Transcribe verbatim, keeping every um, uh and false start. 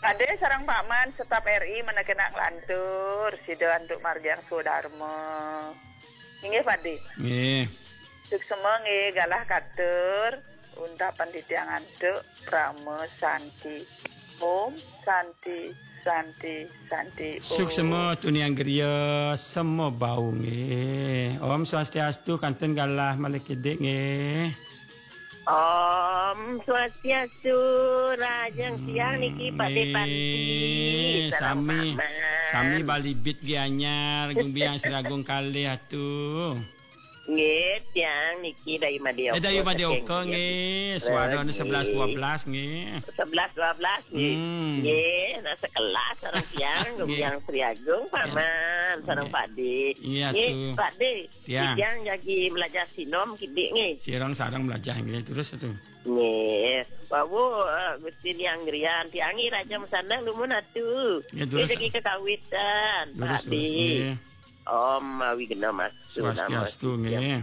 Pade sareng Pak Man, staf R I, menakenak lantur, sida antuk margiang swadarma. Inggih, Pade. Nggih. Suksma nggih, galah katur, untapan titiang antuk, Parama Santi. Om Santi, Santi, Santi. Om. Suksma tuniang griya, sema bau nggih. Om Swastiastu, kantun galah malih kidik nggih. Om Swastiastu, rahajeng siang niki Pade Panti. Nggih, Sareng sami, Pak Man. sami balibit nggih anyar, Gung Biang Sri Agung kalih atu. Nggih, tiang niki Dayu Madya. Eh, Dayu Madya Oka nggih, suarane sebelas dua belas nggih. Sebelas dua belas nggih. Hmm. Nggih, nah sekelas sareng tiang, Gung Nggih. Biang Sri Agung, Pak Ya. Man, sareng Ya. Pak De. Iya, Nggih, tuh. Pak De. Ya. Tiang jagi melajah sinom kidik nggih. Sirang sarang melajah nggih, terus tuh. Nggih, wau eh, Gusti Liang Grian, tiang nggih raja mesandang dumun atu. Ya, Nggih terus. jagi kekawitan, Terus, Pak De. terus nggih. Om Awighnam Astu. Swastiastu nggih.